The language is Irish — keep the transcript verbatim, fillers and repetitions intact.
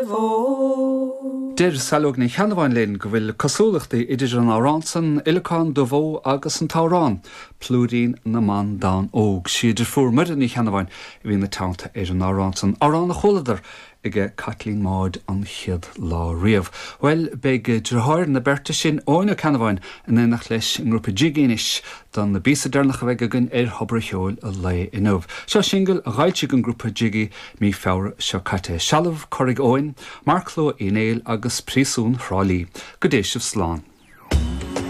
Bhó. Deir Saileog Ní Cheannabháin linn go bhfuil cosúlachtaí idir an amhrán san Uileacán Dubh Ó agus an t-amhrán Plúirín na mBan Donn Óg. Sí a deirfiúr Muireann Ní Cheannabháin a bhí ina teannta ar an amhrán san amhrán a chualadar aige Caitlín Maude an chéad lá riamh. Well beidh deartháir na beirte sin Eoin Ó Ceannabháin in éineacht leis an ngrúpa Jiggy anois don na bpíosa deireanach a bheidh againn ar Thobar an Cheoil an lae inniu. Seo singil a d'fhoilsigh an grúpa Jiggy mí Feabhra seo caite Sealbh Curaigh Eoin, Marcló Uí Néill agus Príosún Thrá Lí. Go dté sibh slán.